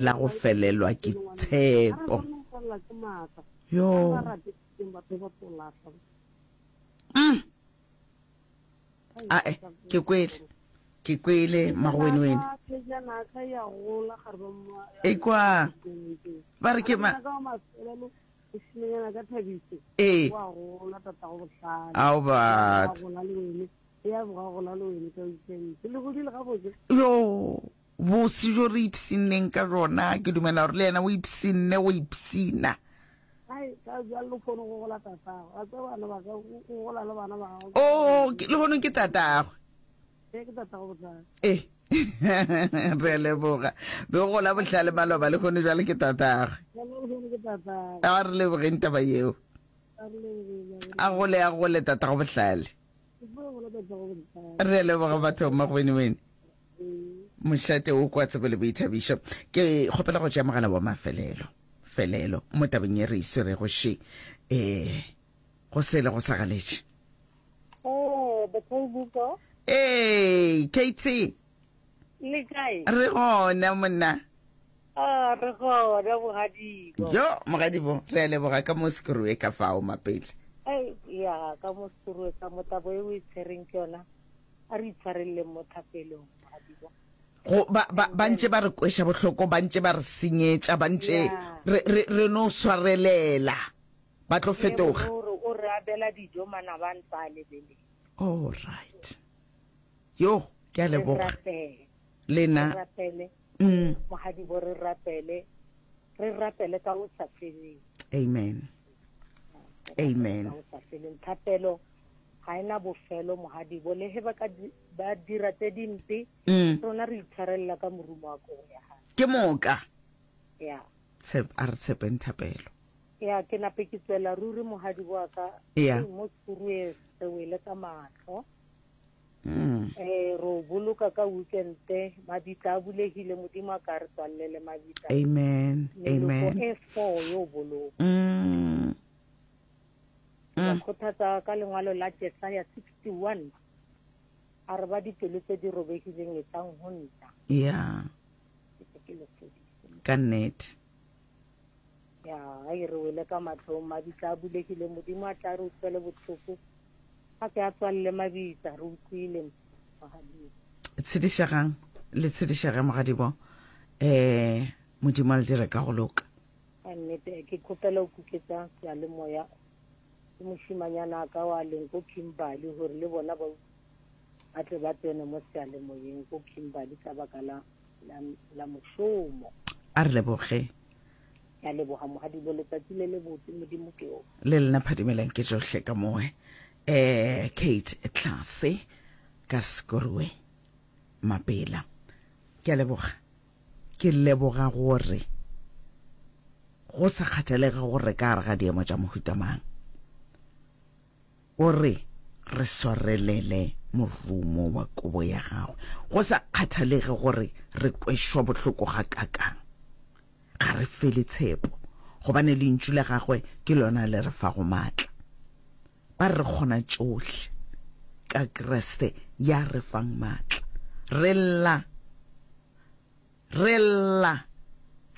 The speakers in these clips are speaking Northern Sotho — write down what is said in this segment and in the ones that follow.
La go felelwa ke tshepo. Yo. Mm. Ae, ke kwele. Ke kwele magwenweni. Ekwa. Ba re ke ma. Ee. Ao batho. Yo. Bose bjo re ipshinneng ka bjona, ke dumela gore le yena o ipshinne go ipshina. Oh, lehono ke tatagwe. Ee, re a leboga. Be o gola bohlale maloba, lehono jwale ke tatagwe. A re lebogeng taba yeo. A gole, a gole tatago bohlale. Re a leboga batho Magwenewene. Mošate o kwa tsebo le boithabišo. Ke kgopela go tšea mogala wa mafelelo felelo mo tabeng ye re e swerego še um go sele go sa galetše. Ee, KT. Le kae? Re gona monna. Ah, re gona mogadibo. Jo, mogadibo, re a leboga ka mo sekurue ka fao mapele. Ei, ya, ka mo sekurue ka mo tabo e o e tshwereng ke yona. A re itshwareleleng mo thapelong, mogadibo. Go, ba, ba, ba ntše ba re kweša bohloko, ba ntše ba re senyetša, ba ntše Ya. re, re, re no swarelela. Ba tlo Ye fetoga. o re, o re abela dijo manaba a ntse a lebeletse. All right. Yo, ke a Re leboga. rapele. Le Re na. rapele. Mm. Mogadibo, re rapele. Re rapele ka go sa feleng. Amen. Re rapele Amen. ka go sa feleng. Thapelo ga e na bofelo mogadibo le ge ba ka ba dira tse dimpe mm. rona re itshwarelela ka morumo wa kobo ya gago ke moka ya Tshep, a re tshepeng thapelo ya ke nape ke tswela ruri mogadibo wa ka ya mo sekurue re wele ka matlho mm. eh ro boloka ka weekende mabitla a bulegile modimo a ka re tswalele mabitla amen meloko amen e four yo boloka mm. Ke ba kgothatsa ka lengwalo la Jesaya 61, a re ba dipelo tse di robegileng etlang ho nna. Ya. Ke tle ke le fodise. Ka nnete. Ya, ai re wele ka mahlong, mabitla a bulegile, Modimo a tla re utlwele bohloko, a ke a tswalele mabitla, re utlwile mogadibo. Tshedišegang, le tshedišege mogadibo, eh, Modimo a le dire ka go loka. Ka nnete, ke kgopela o kuketsa seyalemoya le mošimanyana ka wa leng ko Kimberley gore le bona ba ba tle ba tsene mo seyalemoyeng ko Kimberley ka baka la, la, la mošomo. A re leboge. Ke a leboga Mogadibo, letsatsi le le botse, Modimo ke o. Le lena phadimelang ke tšohle ka moe. Eh, Kate Tlase ka Sekorwe Mapela. Ke a leboga. Ke leboga gore go sa kgathalege gore re ka gare ga diemo tša mohuta mang, o re re swarelele morumo wa kobo ya gagwe. Go sa kgathalege gore re kwešwa bohloko gakakang, ga re fele tshepo, gobane Lentšu la gagwe ke lona le re fago matla. Ba re re kgona tšohle ka Kriste ya re fang matla. Re lla, re lla,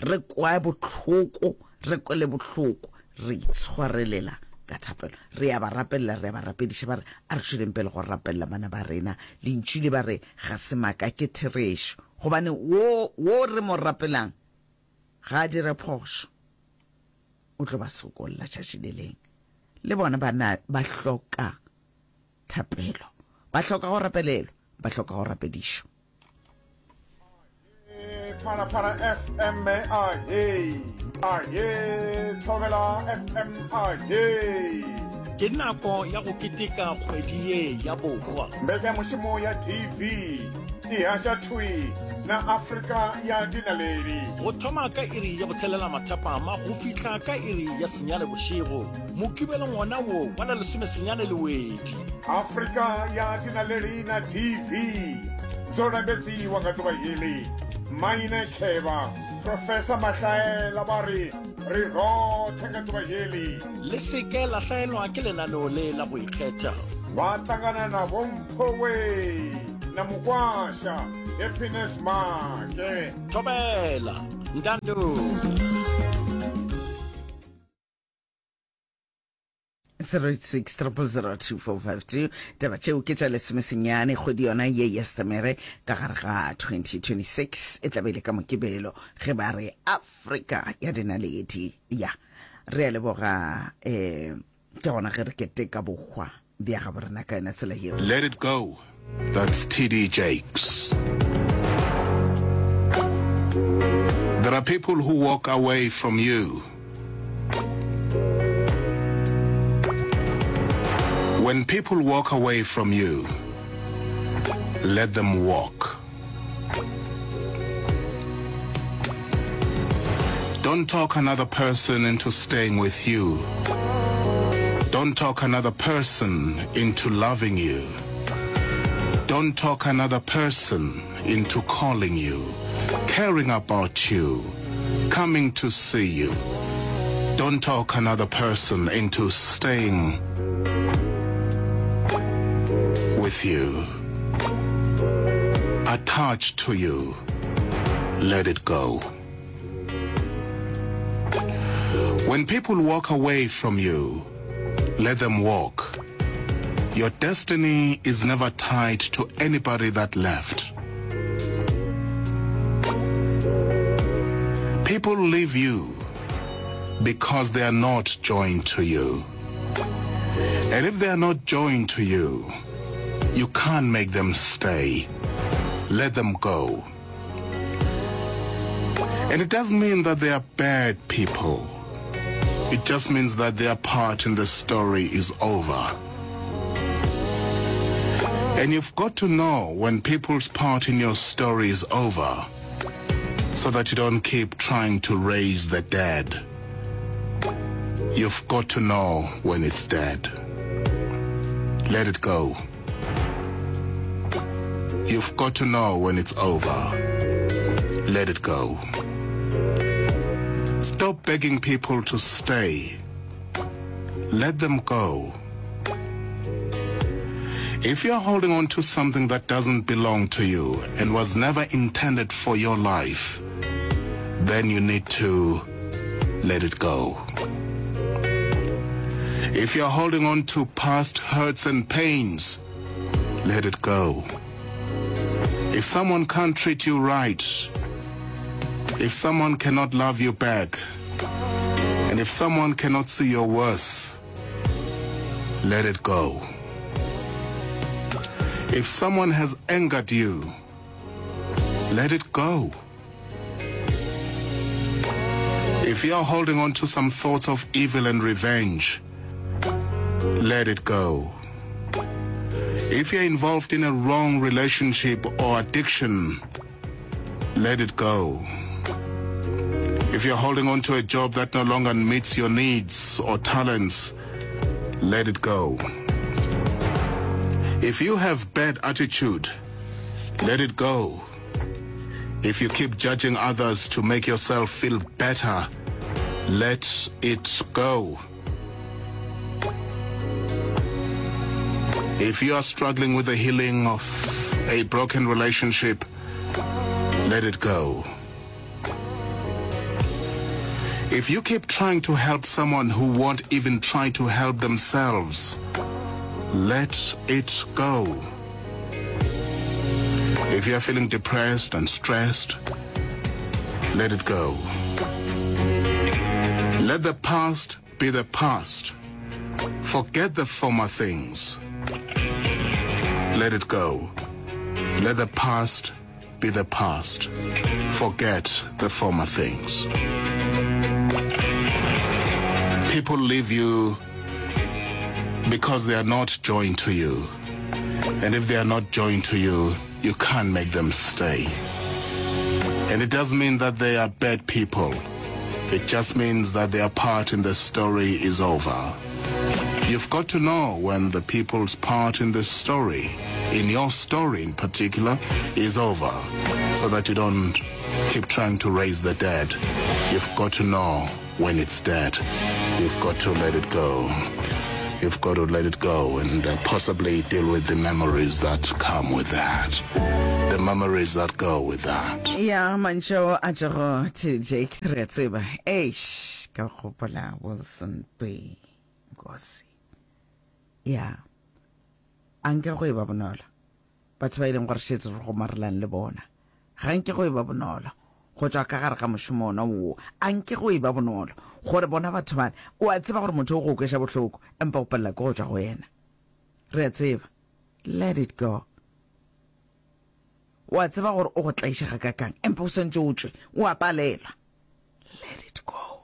re kwa bohloko, re kwele bohloko, re itshwarelela ka thapelo. Re a ba rapelela, re a ba rapediša, ba re a re tšweleng pele go rapelela bana ba rena. Lentšu le ba re ga se maaka, ke therešo. Gobane wo, wo re mo rapelang ga a dire phošo. O tlo ba sokolla tšatši le leng. Le bona ba na ba hloka thapelo, ba hloka go rapelelwa, ba hloka go rapedišwa. Phalaphala FM ahee ahee Thobela FM ahee. Ke nako ya go keteka kgwedi ye ya bohwa. Mbekanyamushumo ya DV e haša thwi na Afrika ya dinaledi. Go thoma ka iri ya botshelela mathapama go fihla ka iri ya senyane bošego, Mokibelong wona wo wa la lesomesenyane Lewedi. Afrika ya dinaledi na DV dzo lambedziwa nga ḓuvha heḽi. Maine Khevha, Professor Mahlaela vha ri ri roṱhe nga ḓuvha heḽi. Le se ke la hlaelwa ke lenaneo le la go ikgetha. Vha ṱangana na Vho Mphowe na Mukwasha Happiness Maake. Thobela! Ntando. 06 0002452 taba tšeo ke tša lesomesenyane kgwedi yona ye ya setemere ka gare ga 2026 e tla be e le ka mokibelo ge ba re afrika ya dinaledi ya re a leboga um ke gona ge re keteka bohwa bja gabo rena ka yona tsela yeo Let it go. That's TD Jakes. There are people who walk away from you. When people walk away from you, let them walk. Don't talk another person into staying with you. Don't talk another person into loving you. Don't talk another person into calling you, caring about you, coming to see you. Don't talk another person into staying with you, attached to you. Let it go. When people walk away from you, let them walk. Your destiny is never tied to anybody that left. People leave you because they are not joined to you. And if they are not joined to you, you can't make them stay. Let them go. And it doesn't mean that they are bad people. It just means that their part in the story is over. And you've got to know when people's part in your story is over so that you don't keep trying to raise the dead. You've got to know when it's dead. Let it go. You've got to know when it's over. Let it go. Stop begging people to stay. Let them go. If you're holding on to something that doesn't belong to you and was never intended for your life, then you need to let it go. If you're holding on to past hurts and pains, let it go. If someone can't treat you right, if someone cannot love you back, and if someone cannot see your worth, let it go. If someone has angered you, let it go. If you are holding on to some thoughts of evil and revenge, let it go. If you're involved in a wrong relationship or addiction, let it go. If you're holding on to a job that no longer meets your needs or talents, let it go. If you have bad attitude, let it go. If you keep judging others to make yourself feel better, let it go. If you are struggling with the healing of a broken relationship, let it go. If you keep trying to help someone who won't even try to help themselves, let it go. If you are feeling depressed and stressed, let it go. Let the past be the past. Forget the former things. Let it go. Let the past be the past. Forget the former things. People leave you because they are not joined to you. And if they are not joined to you, you can't make them stay. And it doesn't mean that they are bad people. It just means that their part in the story is over. You've got to know when the people's part in the story, in your story in particular, is over, so that you don't keep trying to raise the dead. You've got to know when it's dead. You've got to let it go. You've got to let it go and uh, possibly deal with the memories that come with that. The memories that go with that. Ya mantšo a tšego to Jake re a tseba. Eish, ka gopola Wilson B. Nkosi. Ya. A nke go e ba bonolo. Batho ba e leng gore šetse re gomarelang le bona. Ga nke go e ba bonolo go tšwa ka gare ga mošomo ona woo. A nke go e ba bonolo gore bona batho bale, o a tseba gore motho o go kweša bohloko, empa o palela ke go tšwa go yena. Re a tseba. Let it go. O a tseba gore o go tlaiša gakakang, empa o swantše o tšwe. O a palelwa. Let it go.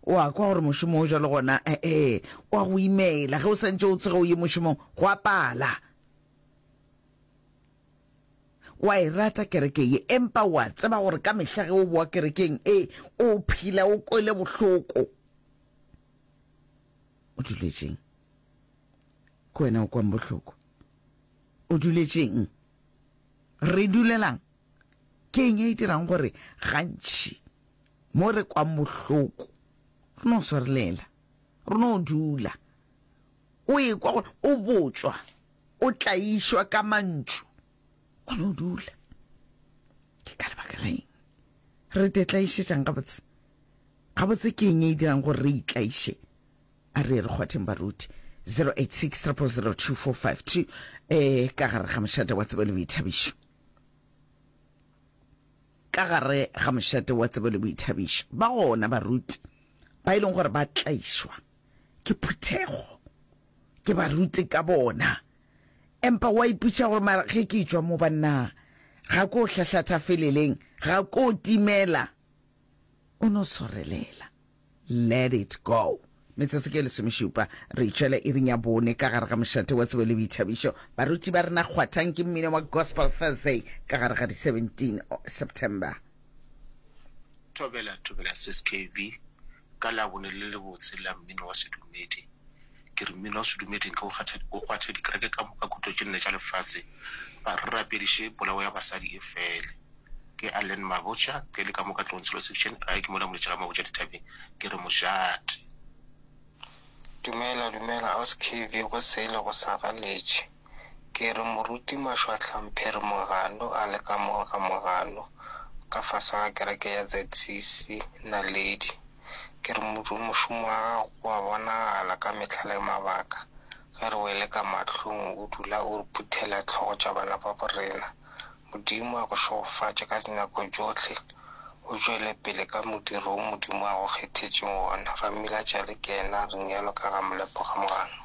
O a kwa gore mošomo o jalo gona, ee, o a go imela. Ge o santše o tsoge o ye mošomong, go a pala. O a e rata kereke ye, empa o a tseba gore ka mehla ge o boa kerekeng e, o phela o kwele bohloko. O duletšeng? Ke wena o kwang bohloko. O duletšeng? Re dulelang? Ke eng e dirang gore gantši mo re kwang bohloko re no swarelela, re no dula? O ekwa gore o botšwa O tlaišwa ka mantšu, o no dula. Ke ka lebaka la eng re te tlaišetšang gabotse? Gabotse ke eng e dirang gore re itlaiše? A re re kgwatheng baruti. 086 000 2452 eh ka gare ga mošate wa tsebo le boithabišo. Ka gare ga mošate wa tsebo le boithabišo ba gona baruti ba e leng gore ba tlaišwa ke phuthego. Ke ba rute ka bona. Empa wa ipotšiša gore mara ge ke tšwa mo banna ga ko hlahlatha feleleng, ga ko timela. O no swarelela. Let it go. Metsotso ke lesomešupa, re itšwela iring ya bone ka gare ga mošate wa tsebo le boithabišo. Baruti ba rena kgwathang ke mmino wa Gospel Thursday ka gare ga di 17 September. Thobela, thobela Sis KV. Ka Labone le lebotse la mmino wa sedumedi, ke re mmino wa sedumedi nke o kgathe, o kgwathe dikereke ka moka khutlo tše nne tša lefase, ba re rapediše polao ya basadi e fele. Ke Allen Mabotja, ke le ka mo Katlehong Tsholo Section, gae ke mola Moletšha ga Mabotja dithabeng, ke re mošate. Dumela dumela aus KV go sele go sa galetše. Ke re moruti Mashwahla Mphere Mogano a le ka mo ga Mogano ka fase ga kereke ya ZCC Naledi. Ke re mošomo wa gago o a bonagala ka mehla le mabaka. Ge re wele ka mahlong o dula o re phuthela hlogo tša bana ba borena. Modimo a go šegofatše ka dinako tšohle, o tšwele pele ka modiro wo Modimo a go kgethetšeng wona. Ramilatšale ke yena a reng bjalo ka ga Molepo ga Mogano.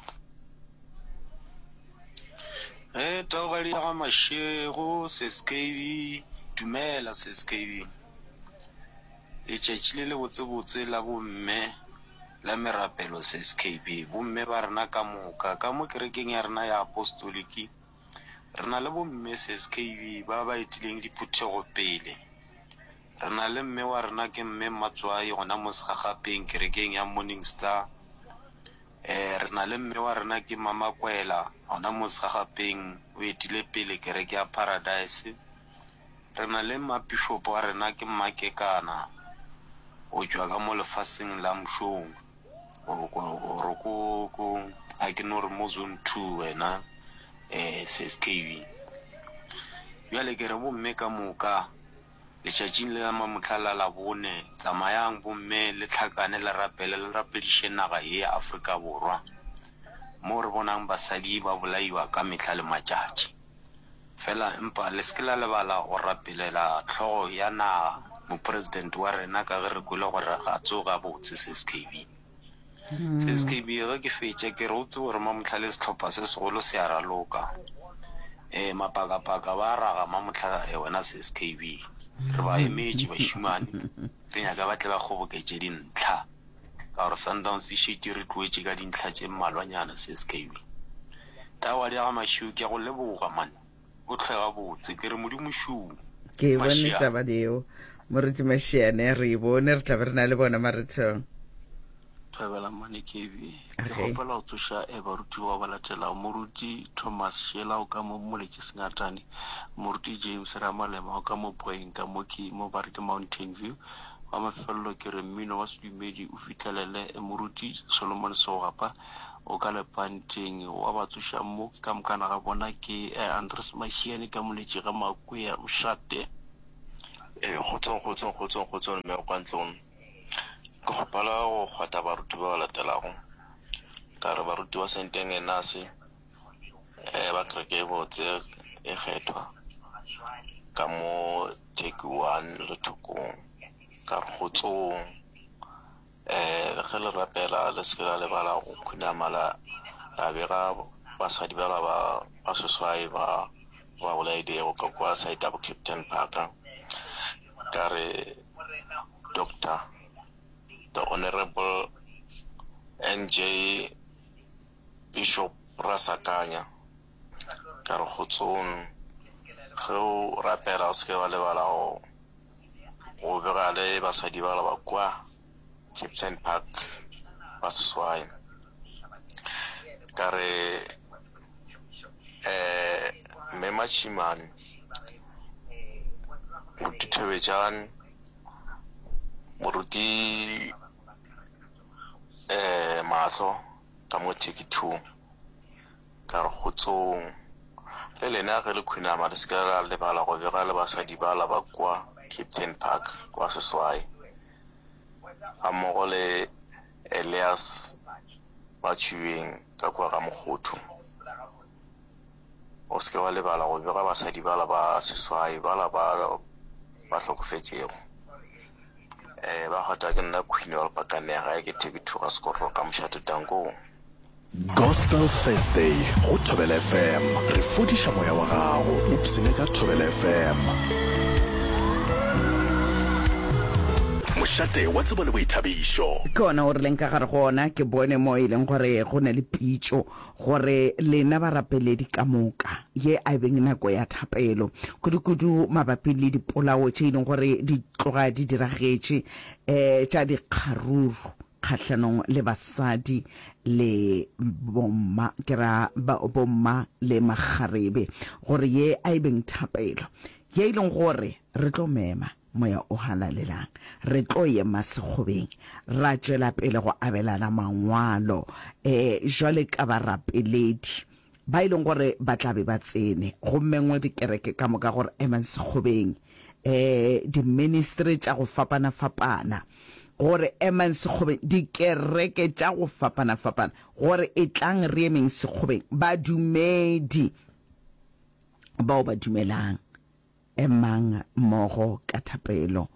Ge taogadi ya ga Mashego, Sis KB, Dumela, Sis KB. Letšatši le lebotsebotse la bomme la merapelo, Sis KB. Bomme ba rena ka moka, ka mo kerekeng ya rena ya Apostoliki, re na le bomme, Sis KB, ba ba etileng diphuthego pele. Re na le mme wa rena ke Mme Mmatswai gona mo Segagapeng, kerekeng ya Morning Star. Ee, re na le mme wa rena ke Mamakwela, gona mo Segagapeng, o etile pele kereke ya Paradise. Re na le mmapišopo wa rena ke Mmakekana, o tšwa ka mo lefaseng la Mšong, or ko, ko, a ke no re mo Zone 2 wena, eh, SSKB. Bjale ke re bomme ka moka, Letšatšing le la mamohla la Labone, tsamayang bomme le hlakane le rapele le rapediše naga ye ya Afrika Borwa, moo re bonang basadi ba bolaiwa ka mehla le matšatši. Fela empa le se ke la lebala go rapelela hlogo ya naga, mopresidente wa rena ka ge re kwele gore ga tsoge gabotse, SKB. SKB, ge ke fetša ke re o tsebe gore mamohla le sehlopha se segolo se a raloka. Ee, mapakapaka ba a raga mamohla wena SKB. Re ba emetše bašemane, re nyaka ba tle ba kgoboketše dintlha ka gore Sundowns e šetše re tloetše ka dintlha tše mmalwanyana SKB. Tawadi ya ga Mašio ke a go leboga man. O hlwe gabotse. Ke re Modimo šuu. Ke e bone taba yeo, Moruti Mashiane. Re e bone, re tla be re na le bona marethong. Thobela Mmane KB. Ke kgopela go tsoša eh, barutiwa ba latelago, Moruti Thomas Shela o ka mo Moletši Sengatane, Moruti James Ramalema o ka mo Boeng ka mo ke mo ba re ke Mountain View. Wa mafelelo ke re mmino wa sedumedi o fihlelele Moruti Solomon Segwapa o ka lepanteng. Wa ba tsošang mo ke ka mokana ga bona ke Andres Mashiane ka Moletši ga Makwea Mošate. Ee, kgotsong, kgotsong, kgotsong, kgotsong, mme kwa ntlong. Ke kgopela go kgwatha baruti ba ba latelago. Ka re baruti ba Senteng Enase, eh, ba kereke e botse e kgethwa ka mo Turkey one lethokong. Ka re kgotsong, eh, ge le rapela le se ke la lebala go khunama la, la bega basadi bala ba ba seswai ba ba bolailego ka kwa side ya bo Captain Park. Ka re Doctor The Honourable NJ Bishop Rasakanya, ka re kgotsong, ge o rapela o se ke wa lebala go go bega le basadi bala ba kwa Captain Park ba seswai. Ka re eh Mme Mashimane, Moruti Thobejane, Moruti eh Mahlo ka mo Turkey 2 ka re kgotsong. Le lena ge le khunama le se ke la lebala go bega le basadi bala ba kwa Captain Park kwa seswai gammogo le Elias Matšhubeng ka kua ga Mokgothu. O se ke wa lebala go bega basadi bala ba seswai bala ba ba hlokofetšego. Eh, ba kgotha ke nna Queen wa Lepakanega gae ke Theki Thuga Sekororo ka Mošate Tankong. Gospel Thursday go Thobela FM. Re fodiša moya wa gago. Ipsene ka Thobela FM. Mošate wa tsebo le boithabišo. Ke ona o re leng ka gare go ona. Ke bone mo e leng gore go na le pitšo gore lena barapeledi ka moka, ye a e beng nako ya thapelo, kudu-kudu mabapi le dipolao tše e leng gore di tloga di diragetše, um tša dikgaruru kgahlanong le basadi le bomma, ke ra bomma le makgarebe, gore ye a e beng thapelo ye e leng gore re tlo mema Moya o Halalelang. Re tlo ema sekgobeng ra tšwela pele go abelana mangwalo e jwale ka barapeledi ba e leng gore ba tla be ba tsene go mengwe dikereke ka moka gore emang sekgobeng e diministry tša go fapana-fapana gore emang sekgobeng dikereke tša go fapana-fapana gore etlang re emeng sekgobeng badumedi bao ba dumelang Emang mmogo ka thapelo.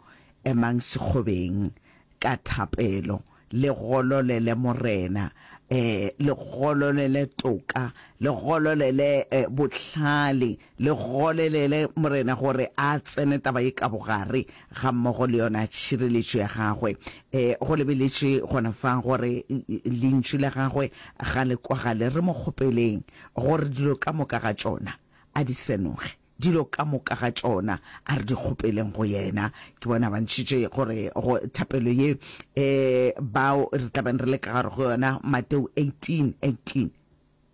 Emang sekgobeng ka thapelo. Le gololele Morena. E, le gololele toka. Le gololele e, bohlale. Le golelele Morena gore a tsene taba ye ka bogare gammogo le yona tšhireletšo ya gagwe. E, go lebeletšwe gona fa gore Lentšu la gagwe ga le kwagale. Re mo kgopeleng gore dilo ka moka ga tšona a di senoge. Dilo ka moka ga tšona a re di kgopeleng go yena. Ke bona ba ntšhitše gore go thapelo ye e bao re tla beng re le ka gare go yona, Mateo 18, 18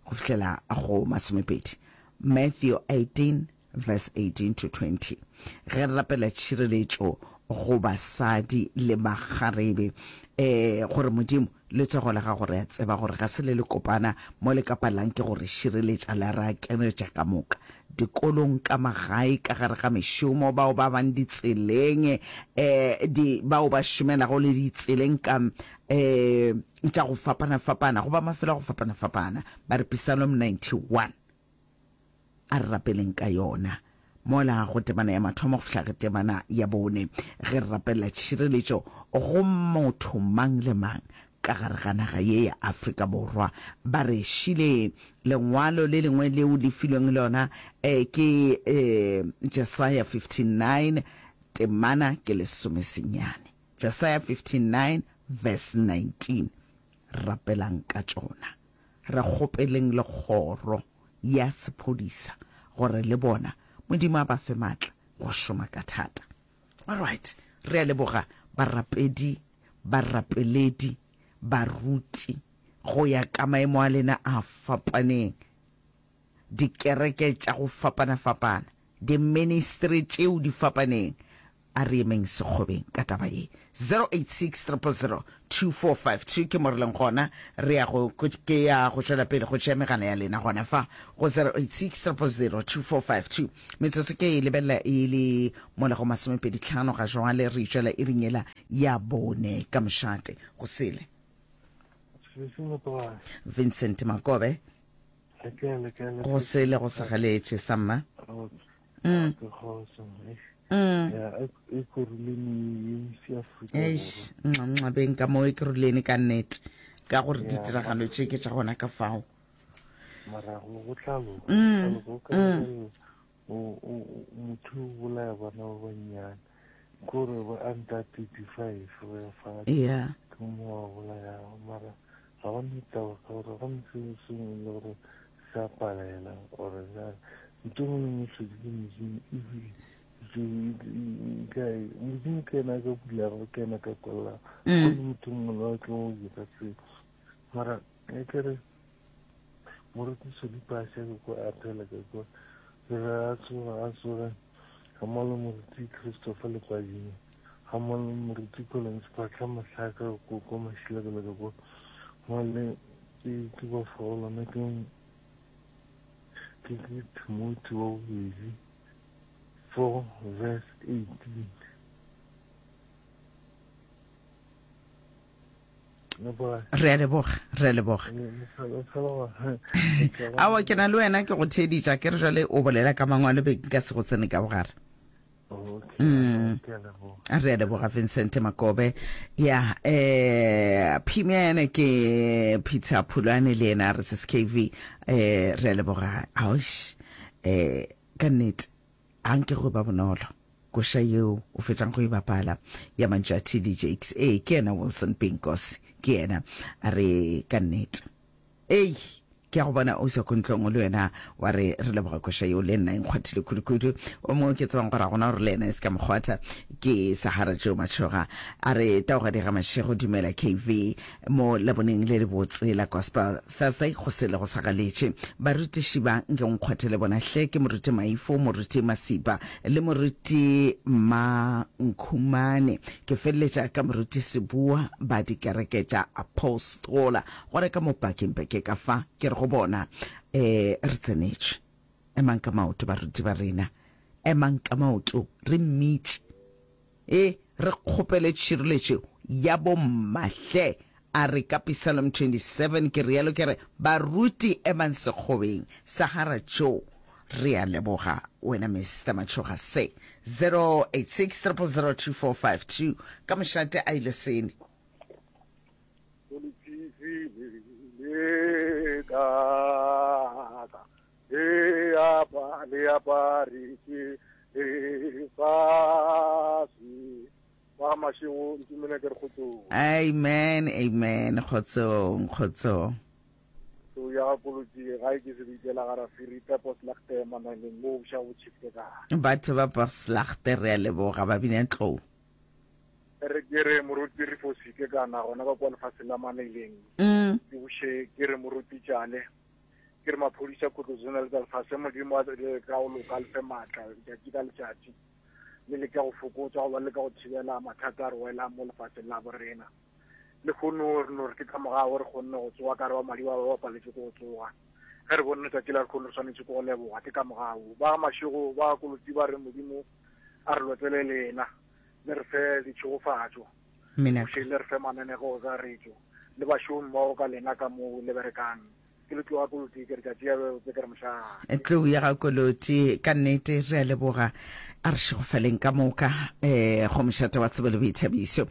go fihlela go masomepedi. Matthew 18 verse 18 to 20. Ge re rapela tšhireletšo go basadi le makgarebe, e gore Modimo Letsogo la gago re a tseba gore ga se le le kopana mo le ka palang ke go re šireletša la re akeretša ka moka dikolong, ka magae, ka gare ga mešomo, bao ba bang ditseleng, eh, di, bao ba šomelago le ditseleng ka, eh, tša go fapana-fapana, goba mafelo a go fapana-fapana. Ba re Psalm 91. A re rapeleng ka yona mola go temana ya mathomo go fihla go temana ya bone, ge re rapelela tšhireletšo go motho mang le mang ka gare ga naga ye ya Afrika Borwa. Ba re šile lengwalo le lengwe leo le filweng lona eh, ke eh, Jesaya 59 temana ke lesomesenyane. Jesaya 59 verse 19. Rapelang ka tšona. Re kgopeleng le kgoro ya sephodisa gore le bona Modimo a ba fe maatla go šoma ka thata. Alright, re a leboga barapedi, barapeledi, baruti go ya ka maemo a lena a fapaneng, dikereke tša go fapana-fapana, diministry tšeo di fapaneng. A re emeng sekgobeng ka taba ye. 086 000 2452 ke mo re leng gona. Re ya go, ke ya go tšwela pele go tšea megala ya lena gona fa go 086 000 2452. Metsotso ke e lebelela e le mola go masomepeditlhano ga jwale, re tšwela iring yela ya bone ka mošate go sele. Vincent Makobe. Go sele go sa galetše samma. Mm. Mm. Eish, nxa beng ka mo e ke rulene ka nnete ka gore ditiragalo tše ke tša gona ka fao. Morago go tla loka, mm. go ka mm. motho o bolaya bana ba bannyane kore ba under 35 go ya fatshe yeah. ke mo wa bolayago mara ga go ne taba ka gore go ne sengwe sengwe le gore se a palela or jang ntho engwe le nngwe tlhodi ke modimo ebile modimo ke ena a ka bulago ke ena a ka kwalelang mm. go le motho mongwe le wa tlo go dira seo mara e kere moruti Sodipasha ke kwa a phela ka kwa ke re a tsoga a tsoge ga mmogo le moruti Christopher Lepadimo ga mmogo le moruti Collins Phatlha Mohlaka ko kwa Mashilakela ka kwa mmogo le ke ke ba fa ke ke ke Timothy wa bobedi 4 verse 18 Re a leboga, re a leboga. Aowa, ke na le wena ke go theeditša, ke re jwale o bolela ka mangwalo be nka se go tsene ka bogare. Mm. Re a leboga Vincent Makobe. Ya, eh Phimiane ke Peter Phulwane le yena re SKV. Eh re a leboga. Aosh. Eh ka nnete a nke go ba bonolo. Koša yeo o fetšang go e bapala ya mantšu a TD Jakes, ee, ke yena Wilson Pinkos, ke yena. A re, Ka nnete. Ei, ke a go bona o sa kontlong le wena wa re re leboga koša yeo le nna e nkgwathile kudu-kudu. O mongwe ke tsebang gore a gona gore le yena e se ka mo kgwatha ke Sahara Joe Machoga. A re Taugadi ga Mashego dumela KV mo Laboneng le lebotse la Gospel Thursday go sele go sa galetše. Barutiši ba nke o nkgwathele bona hle, ke Moruti Maifo, Moruti Masipa le Moruti Mankhumane. Ke feleletša ka Moruti Seboa ba dikereke tša Apostola. Gona ka mo pakeng peke ka fa, ke re go bona, E, re tsenetšwe. Emang ka maoto baruti ba rena. Emang ka maoto re mmitše. E, re kgopele tšhireletšo ya bomma hle. A re ka Psalm 27, ke realo ke re, Baruti emang sekgobeng. Sahara Joe, re a leboga wena Mister Matšhoga se. 086 000 2452 ka mošate a ile sene. Le apa le aparetše lefase. Ba mašego ntumele ke re kgotsong. Amen amen kgotsong kgotsong. So ya ga kolotsi ga e ke se bitela ga rafiri pepo slagte mananeng mo bša bo chifte ka. Batho ba Poslagte re a leboga ba bina tlou. Re ke re moruti re fosike kana gona ka kwa lefatsheng la Manaileng. Mm. Ke buše ke re moruti tšale. Ke re maphodisa khutlo zona le tsa lefase Modimo a le ka go loka le fe maatla letšatši ka letšatši le leka go fokotsa goba le ka go thibela mathata a re welang mo lefatsheng la borena. Lehono re no re ke ka morago re kgonne go tsoga ka re ba madi ba ba paletše ke go tsoga. Ge re bone letšatši la lehono re swanetše ke go leboga ke ka morago. Ba mašego ba kolotsi ba re Modimo a re lotlele lena le re fe ditšhegofatšo. Bošeng le re fe mananego kakaretšo le bašomi mmogo ka lena ka moo le berekang. Ke le tloga Koloti, ke re tšatši ya botse ke re mošate. Tlou ya ga Koloti, ka nnete re a leboga. A re šegofaleng ka moka eh, go mošate wa tsebo le boithabišo.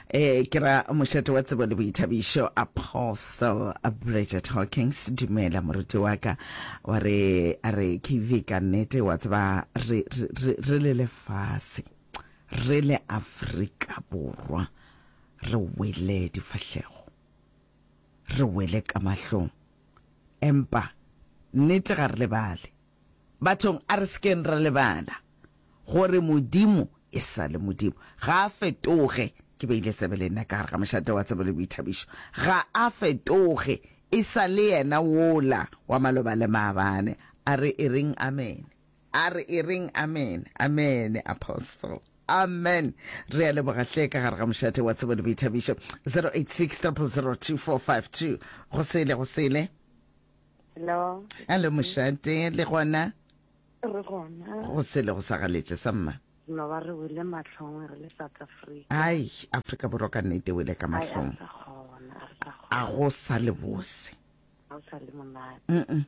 Eh, ke ra mošate wa tsebo le boithabišo Apostle Bridget Hawkins, dumela moruti wa ka. Wa re, a re KV ka nnete wa tseba re, re, re, re le lefase, re le Afrika Borwa, re wele difahlego. Re wele ka mahlong. Empa, nnete ga re lebale. Bathong, a re se keng ra lebala gore Modimo e sa le Modimo. Ga a fetoge. Ke beile tsebe le nna ka gare ga mošate wa tsebo le boithabišo. Ga a fetoge. E sa le yena wola wa maloba le maabane. A re e reng amene. A re e reng amene. Amene, Apostle. Amen. Re a leboga hle ka gare ga mošate wa tsebo le boithabišo. 086 000 2452. Go sele, go sele. Hello. Hello mošate, le gona? Re gona. Go sele go sa galetše sa mma. No ba re wele mahlong re le South Africa. Ai, Afrika Borwa ka nnete wele ka mahlong. A go sa le bose. A go sa le monate. Mm.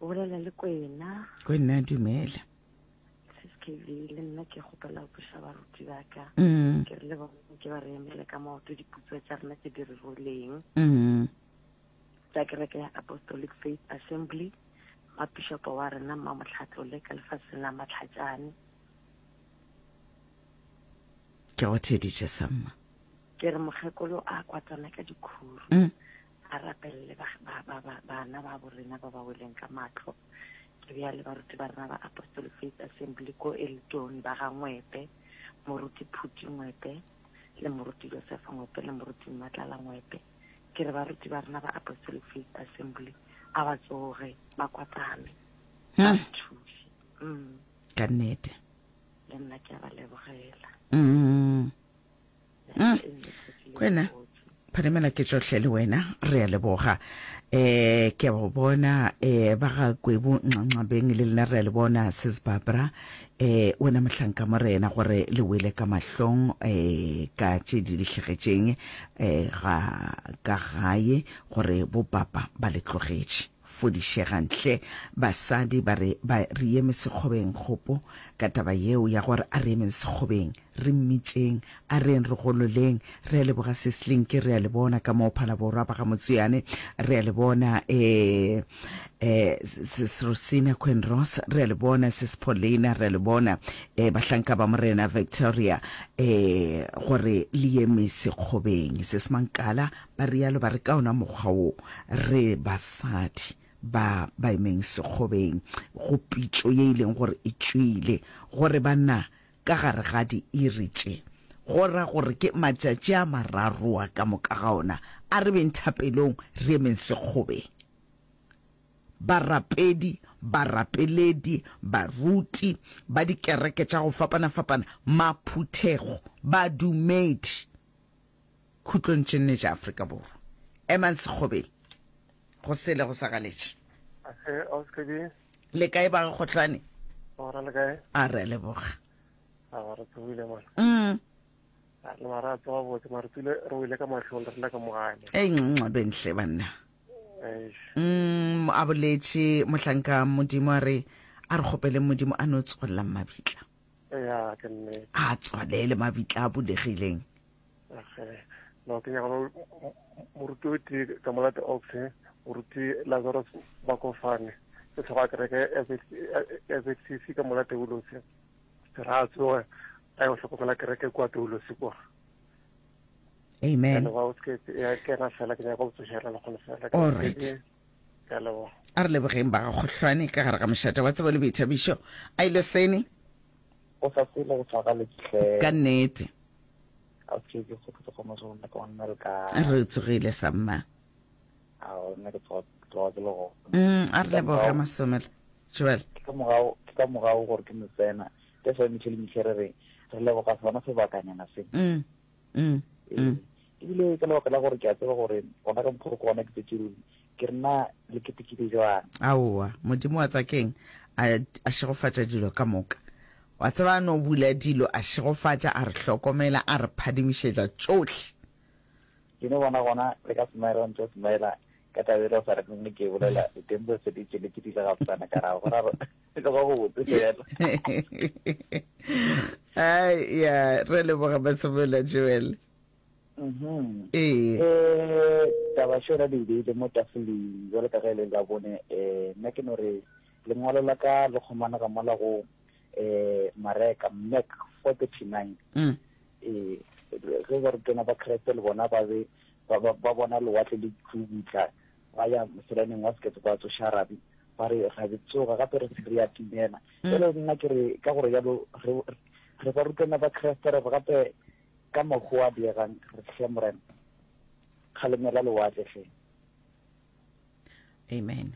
O bolela le Kwena. Kwena dumela. Sis KV le nna ke kgopela go buša baruti ba ka. Mm. Ke re le bona ke ba re emele ka maoto diputso tša rena tše di re roleng. Mm. Tša kereke ya Apostolic Faith Assembly, Mmapišopo wa rena Mmamohlatlole ka lefaseng la Matlhatšane. Ke go theeditše samma. Ke re mokgekolo a kwatana ka dikhuru. Mm. A rapelele ba, ba, ba, ba, bana ba borena ba ba weleng ka mahlo. Ke bea le baruti ba rena ba Apostolic Faith Assembly ko Elton ba ga Ngwepe, Moruti Phuti Ngwepe, le Moruti Josefa Ngwepe le Moruti Mmatlala Ngwepe. Ke re baruti ba rena ba Apostolic Faith Assembly a ba tsoge ba kwatame ba re thuše. Mm. Ka nnete. Le nna ke a ba lebogela. Mm. Mm. Kwena. Phadimela ke tšohle le wena re a leboga eh ke a go bona eh ba ga Kwebu Nxanxabeng le lena re a le bona sis Barbara eh wena mohlanka morena gore le wele ka mahlong eh ka tše di le hlegetšeng eh ga ka gae gore bo papa ba le tlogetše fodišegang hle basadi ba re ba re eme sekgobeng kgopo ka taba yeo ya gore a re emeng sekgobeng Re mmitšeng, a re yeng re gololeng. Re a leboga Sis Linki, re a le bona ka mo Phalaborwa ba ga Motswiane, re a le bona eh, eh, Sis Rosina Queen Ross, re a le bona Sis Paulina, re a le bona eh, bahlanka ba Morena Victoria, eh, gore le eme sekgobeng. Sis Mankala ba rialo ba re ka ona mokgwa wo re basadi ba ba emeng sekgobeng go pitšo ye e leng gore e tšwile gore banna Ka gare ga diiri tše, go ra gore ke matšatši a mararoa ka moka ga ona, a re beng thapelong, re emeng sekgobeng. Barapedi, barapeledi, baruti ba dikereke tša go fapana-fapana, maphuthego, badumedi, khutlong tše nne tša Afrika Borwa, emang sekgobeng, go sele go sa galetše. Le kae ba ga Kgohlane? Gora le kae? A re a leboga. A re tsogile mona. Mm. A re mara a tsoga botse mara tsile re wele ka mahlong re lla ka mo gae. Ei nxabeng hle banna. Eish. Mm, a boletše mohlanka Modimo a re a re kgopeleng Modimo a no tswalela mabitla. Ya ke nnete. A tswalele mabitla a bulegileng. Okay. No, ke nyaka moruti o tee ka molate ox moruti Lazarus Bakofane ke tlhogo ya kereke ya ZCC ka molate Ulosi ra a tsoge a yo hlokomela kereke kua Toulosi kwa. Amen. Ke ena fela ke nyaka go tsošela le kgone fela. All right. Ke a leboga. A re lebogeng ba ga Kgohlwane ka gare ga mošate wa tsebo le boithabišo. A ile sene. Go sa sele go tshwaraletše hle. Ka nnete. A ke ke go tsoga mo sona ka nna le kae. Re tsogile sa mma. A nna ke tsoga tsoga ke le go. Mm, a re leboga Masomela. Joel. Ke ka morago ke ka morago gore ke mo tsena. Ke sa mitlhe le mitlhe re re re leboga sona sebakanyana se. Mm. Mm. Mm. Ebile ka lebaka la gore ke a tseba gore gona ka mokgwa ke gona ke tsetse ruri. Ke re na le ketekile jwang? Aowa, Modimo wa tsakeng a, a šegofatša dilo ka moka. Wa tseba a no bula dilo, a šegofatša, a re hlokomela, a re phadimišetša tšohle. Ke no bona gona le ka smile wa ntšo smile ka taba e le o sa re nne ke bolela ditempo se di tšweletše di le gabotsana ka ra gora e tloga go botse fela. Ai ya re leboga Masemola Joel. Mhm. Ee. Eh, taba šona di beile mo tafoleng jwalo ka ge e le la bone eh nna ke no re lengwalo la ka le kgomanega mola go eh Mareka Mark 4:39 Mm. eh ge barutwana ba Kreste le bona ba be ba ba ba bona lewatle le tšubutla ba ya moselaneng wa sekepe ba tsoša rabi ba re rabi tsoga gape re se re ya timela jalo nna ke re ka gore jalo re re barutwana ba Kreste re gape Ka mokgwa o a diegang, re hle, Morena, kgalemela lewatle hle. Amen.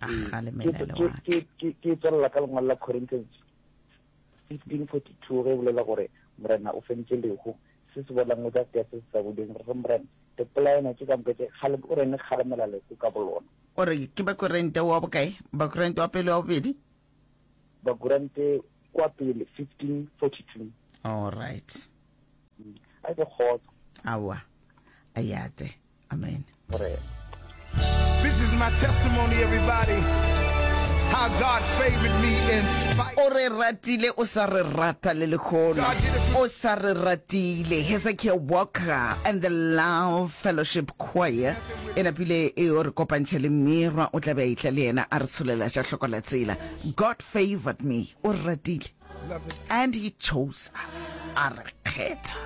A Ee, kgalemela ke, ke, lewatle. ke, ke, ke tswelela ka lengwalo la Corinthians 1542 ge e bolela gore Morena o fentše lehu, se se bolang o tla tea se se sa boleng, re re Morena, dipolaeno tše ka moka tše, kgale, o reng le kgalemela lehu ka bolona? O re ke Bakorinte wa bokae? Bakorinte wa pele wa bobedi? Bakorinte kwa pele, 1542. All right. A ke kgotso. Aowa, a yate. Amen. Morena. This is my testimony, everybody. How God favored me in spite. O re ratile, o sa re rata le lehono. O sa re ratile. Hezekiah Walker and the Love Fellowship Choir e napile e o re kopantšha le Mirwa, o tla be a etla le yena a re tsholela tša hloko la tsela. God favored me, o re ratile. And he chose us, a re kgetha.